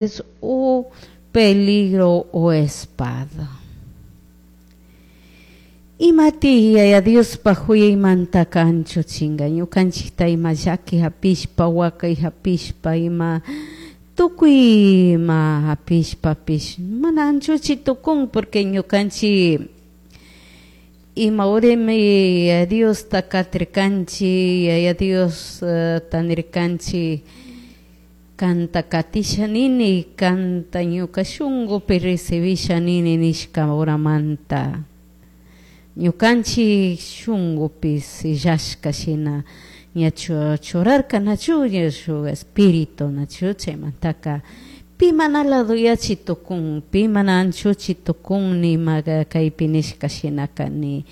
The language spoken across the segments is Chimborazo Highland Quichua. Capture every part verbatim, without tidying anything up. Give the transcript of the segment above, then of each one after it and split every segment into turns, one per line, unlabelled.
O peligro o espada. Imati Yaya Diospaj juyaymantaka anchuchinga ñukanchikta ima llaki hapishpa, wakay hapishpa, ima tukuy ima hapishpapish mana anchuchi tukun, porque ñukanchik ima urimi Yaya Diosta katirkanchik, Yaya Dios nirkanchik kanta katisha nini, kanta ñuka shunkupi recibisha nini nishka horamanta ñukanchik shunkupi sellashka shina ña churarka, nachu, shuk espíritu, nachu? Chaymantaka pi mana ladoyachi tukun, pi mana anchuchi tukun, nima kaypi nishka shinaka, ni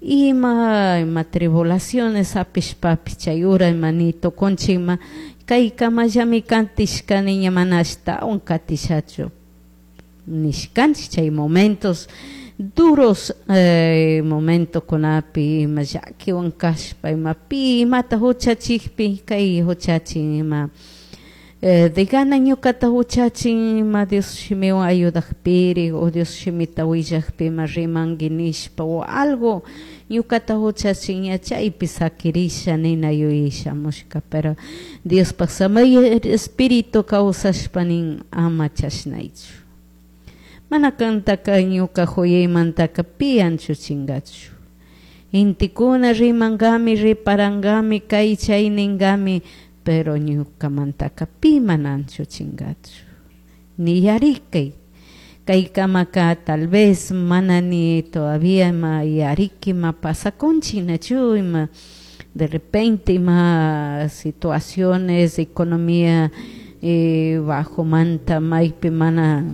ima ima tribulaciones hapishpapish chay hora ima ni tukunchik ima kaykamallami katishkani, ña mana ashtawan katishachu nishkanchik. Chay momentos duros, eh, momentokunapi ima llakiwan kashpa, ima pi imata huchachikpi, kay huchachin ima eh, de gana ñukata huchachin, ima Dios shimiwan ayudakpiri o Dios shimita willakpi ima rimanki nishpa o algo ñukata huchachin, ña chaypi sakirisha nina yuyashamushka, pero Diospaj samay espíritu kawsashpa nin: "Ama chashnaychu, mana kantaka ñuka juyaymantaka pi anchuchingachu. Intikuna rimankami, riparangami, kay chay ninkami, pero ñukamantaka pi mana anchuchingachu". Ni yarikay kaykamaka tal vez mana ni todavía ima yariki ima pasakunchik, nachu? Ima de repente ima situaciones, economía eh, bajomanta, maypi mana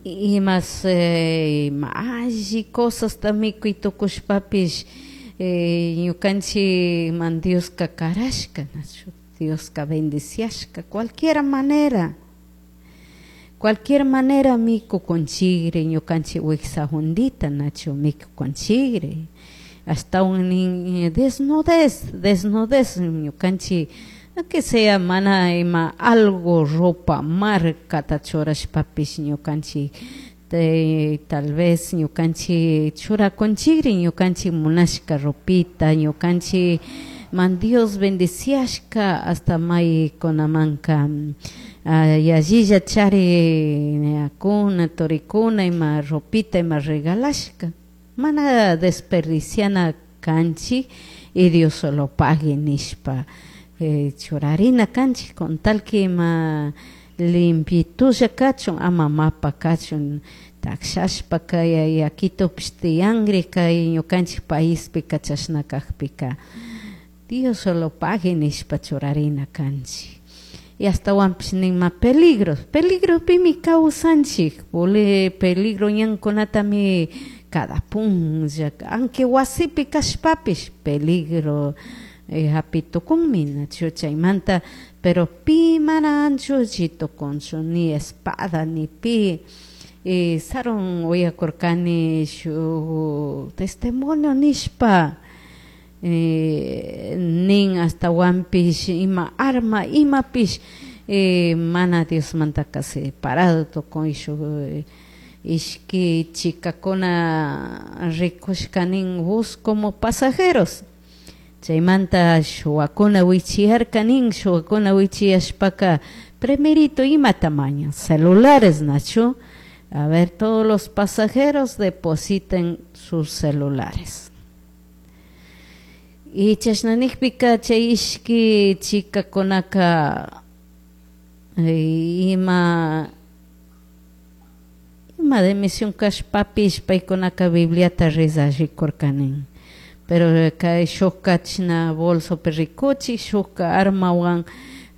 imas eh, ima alli cosasta mikuy tukushpapish, eh, ñukanchikman Dioska karashka, nachu? Dioska bendiciashka cualquier manera, cualquier manera mikukunchikri ñukanchik wiksa jundita, nachu? Mikukunchikri ashtawan nin desnudez, desnudez ñukanchik, que sea mana ima algo ropa marcata churashpapish, ñukanchik tal vez ñukanchik churakunchikri ñukanchik munashka ropita, ñukanchik man Dios bendiciashka hasta maykunamanka yallilla chari ñakuna turikuna ima ropita ima regalashka, mana desperdiciana kanchik y Dios solo pague nishpa eh, churarina kanchik con tal que ima limpitulla kachun, ama mapa kachun, takshashpa kay yakitupish tiyankri kay ñukanchik paispika. Chashna kakpika Dios solo pague nishpa churarina kanchik. Y ashtawanpish nima peligros, peligropimi kawsanchik, peligro ñankunatami cada punlla, aunque wasipi kashpapish peligro eh, hapi tukunmi, nachu? Chaymanta pero pi mana anchuchi tukunchu, ni espada ni pi. eh, sarun uyakurkani shuk testimonio nishpa, eh, nin ashtawanpish ima arma imapish eh, mana Diosmantaka separado tukun. Shuk ishki chikakuna rikushka nin bus como pasajeros, chaymanta shuwakuna wichiyarka nin. Shuwakuna wichiyashpaka primerito ima tamaño celulares, nachu? "A ver, todos los pasajeros depositen sus celulares". Y chashna nikpika chay ishki chikakunaka ima ima de misión kashpapish paykunaka Bibliata rezarikurka nin, pero kay shukka chashna bolsopi rikuchik, shukka armawan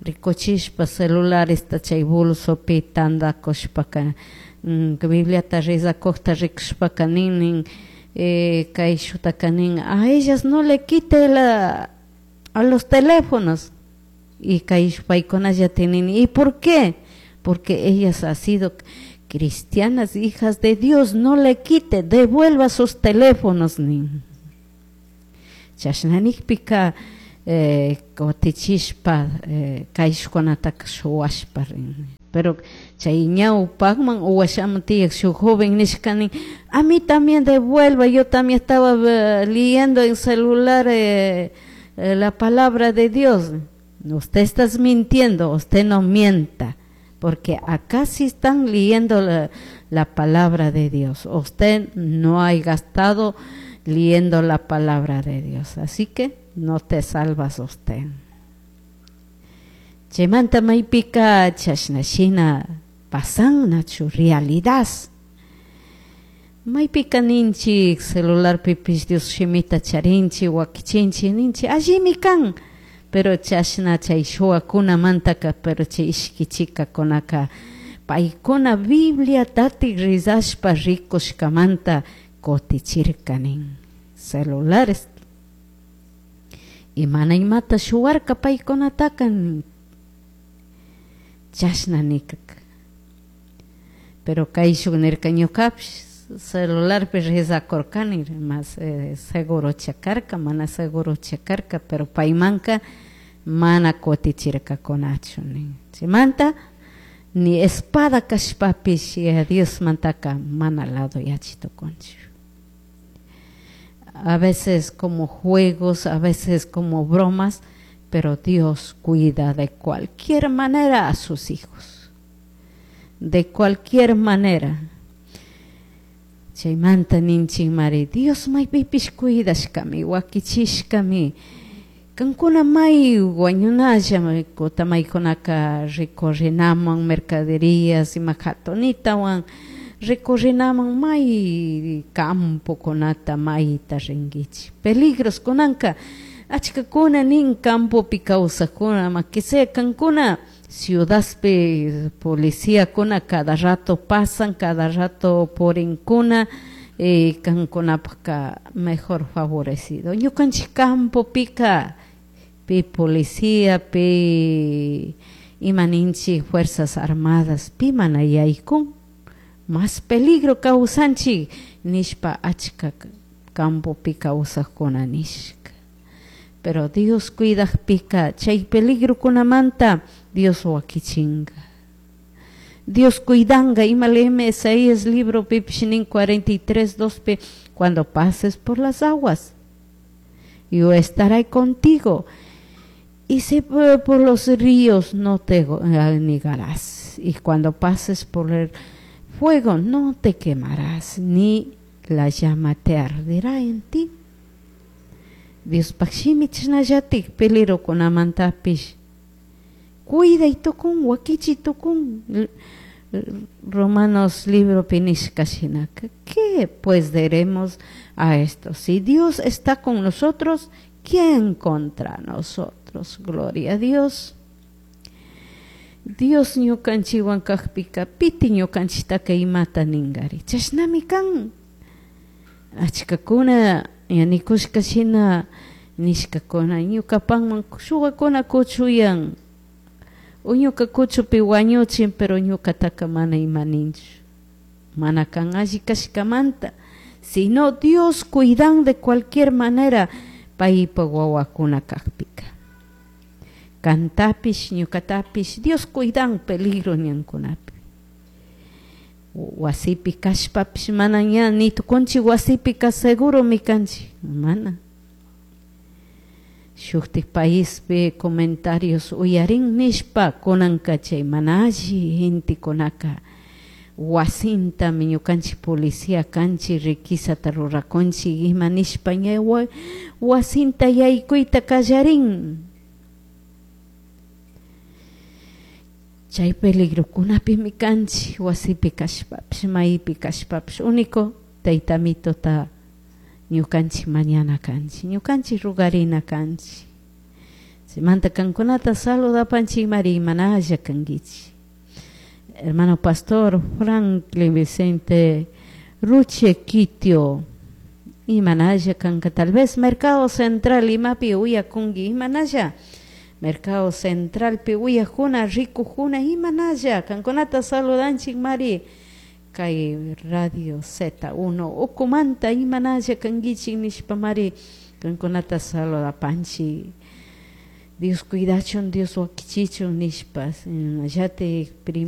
rikuchishpa celularesta chay bolsopi tandakushpaka, Bibliata rezakukta rikushpaka nin nin eh, kayshutaka nin: "A ellas no le quite la, a los teléfonos". Y kay paykunalla tienen: "¿Y por qué?". "Porque ellas han sido cristianas, hijas de Dios, no le quite, devuelva sus teléfonos", nin. Chashna nikpika eh, kutichishpa eh, kayshkunataka shuwashpa rin. Pero chay ñawpakman o washaman tiyak shuk joven nishkani, a mí también devuelva, yo también estaba leyendo en celular eh, eh, la palabra de Dios. Usted está mintiendo, usted no mienta, porque acá sí están leyendo la, la palabra de Dios. Usted no ha gastado leyendo la palabra de Dios, así que no te salvas usted. Chaymanta maypika chashna shina pasan nachu realidad. Maypika ninchik celularpipish Dios shimita charinchik wakichinchik ninchik allimi kan, pero chashna chay shuwakunamantaka, pero chay ishki chikakunaka paykuna Biblia tatik rizashpa rikushkamanta kutichirka nin celulares y mana imata shuwarka paykunataka chashna nikaka. Pero kayshuk nirka ñukapish celularpi rizakurkani mas eh, seguro chakarka mana seguro chakarka, pero paymanka mana kutichirkakunachu nin. Chaymanta ni espada kashpapish Diosmantaka mana lado yachi tukunchik. A veces como juegos, a veces como bromas, pero Dios cuida de cualquier manera a sus hijos. De cualquier manera. Chaymanta ninchik mari, Dios maypipish cuidashkami, wakichishkami. Kankuna may wañunalla, kutamaykunaka recorrinaman mercaderías ima hatunitawan recorrinaman may campokunata mayta rinkichik. Peligros kunanka achkakuna nin campopi kawsakuna, ma que sea kankuna ciudadpi policíakuna cada rato pasan, cada rato purinkuna, eh, kankunapaka mejor favorecido. Ñukanchik campopika pi policía, pi ima ninchik fuerzas armadas, pi mana yaykun, más peligro kawsanchik nishpa achka campopi kawsakuna nishka. Pero Dios cuidakpika chay peligro kunamanta Dios wakichinga. Dios cuidanga, ima leeme Isaías libro pipish nin cuarenta y tres, dos pi, cuando pases por las aguas, yo estaré contigo, y si por, por los ríos no te anegarás, y cuando pases por el fuego no te quemarás, ni la llama te arderá en ti. Dios shimi chashnallatik peligro kunamantapish cuida y tukun, wakichi tukun. Romanos libro pinishka shinaka, ¿qué pues diremos a esto? Si Dios está con nosotros, ¿quién contra nosotros? Gloria a Dios. Dios ñukanchikwan kakpika, piti ñukanchitaka imata ningari. Chashnami kan. Achkakuna yanikushka shina nishkakuna ñukapanman shuwakuna kuchuyan. O ñuka kuchupi wañuchin, pero ñukataka mana ima ninchu. Mana kan alli kashkamanta. Sino Dios cuidan de cualquier manera paypa wawakuna kakpika. Kantapish, ñukatapish, Dios cuidan peligro ñankunapi. Wasipi kashpapish mana ña ni tukunchik wasipika seguro mi kanchik, mana. Shuktik paispi comentarios uyarin nishpa kunanka chay mana alli gentekunaka wasintami ñukanchik policía kanchik riquisata rurakunchik ima nishpa ña wasinta yaykuyta kallarin. Chay peligro kunapimi kanchik wasipi kashpapish maypi kashpapish único taytamitota ñukanchik mañana kanchik, ñukanchik rugarina kanchik. Chaymanta kankunata saludapanchik mari imanalla kankichik. Hermano pastor Franklin Vicente Ruche Quitio, imanalla kanka, tal vez Mercado Central imapi uyakunki imanalla. Mercado Central pi uyajuna, rikujuna, imanalla, kankunata saludanchik mari. Kay Radio Z uno ukumanta imanalla kankichik nishpa mari kankunata saludapanchik. Dios cuidachun Dios wakichichun nishpa shinallatik prima